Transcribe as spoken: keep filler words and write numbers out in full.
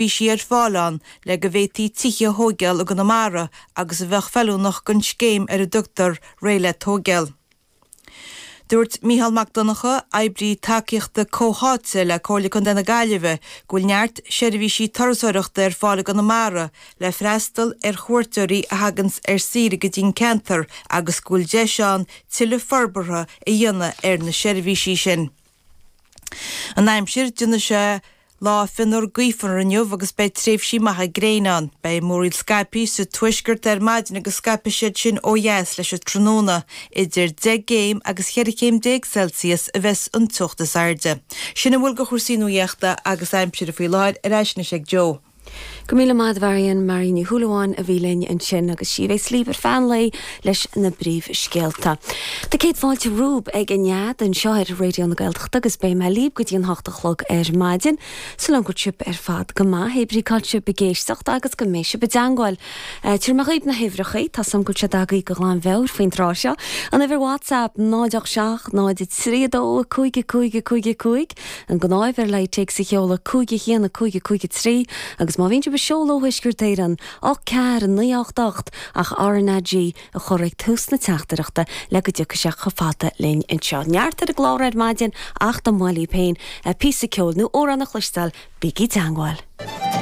seirbhísí ar fáil ann le go bhféadfaí tithe a thógáil i gConamara agus a bheadh feiliúnach don scéim ar a dtugtar Réidh le Tógáil. Dúirt Mícheál Mac Donncha, oibrí tacaíochta comhtháite le Comhairle Contae na Gaillimhe, go bhfuil neart seirbhísí turasóireachta ar fáil i gConamara le freastal ar chuairteoirí a thaganns ar saoire go dtí an ceantar agus go bhfuil deis ann tuilleadh forbartha a dhéanamh ar na seirbhísí sin. An aimsir déanfaidh sé lá fionnuar gaofar inniu agus beidh tréimhsí maithe gréine ann. Beidh múraíl scaipthe sa tuaisceart ar maidin agus scaipfidh siad sin ó dheas leis an tráthnóna idir deich gcéim agus cheithre chéim déag Celsius a bheas an teocht is airde. Sin a bhfuil de chúrsaí nuachta agus aimsire faoi láthair ar ais anois ag Joe. Go míle maith Mharion Marie Ní Shúilleabháin a bhí linn ansin agus sí bheidh libh ar feadh an lae leis na príomhscéalta. Tá céad fáilte romhaibh ag an nead anseo ar Raidió na Gaeltachta agus beidh mé libh go dtí an hocht a chlog ar maidin, Súil agam go bhfuil sibh ar fad go maith hébrí cá sibh ag éisteacht agus go mbeidh sibh i dteagmháil. Tabharfaidh mé dhaoibh na huimhreacha tá sam go se agaí go ghlan bheur faoin tráth seo. An uimhir WhatsApp náid seach náid trí dó cúig cúig cúig cúig an ghnáthuimhir le téacs a sheoladh cúig haon cúig cúig trí agus má bhíonn sibh ag seoladh ó Thuaisceart Éireann ocht ceathair naoi ocht ocht ach RnaG a chur ag tús na teachtaireachta le go dtiocfaidh sé chomh fada linn anseo. Neart ar an gclár ar maidin ach dá mba mhaith libh féin píosa ceoil nó amhrán a chloisteáil bígí i dteagmháil.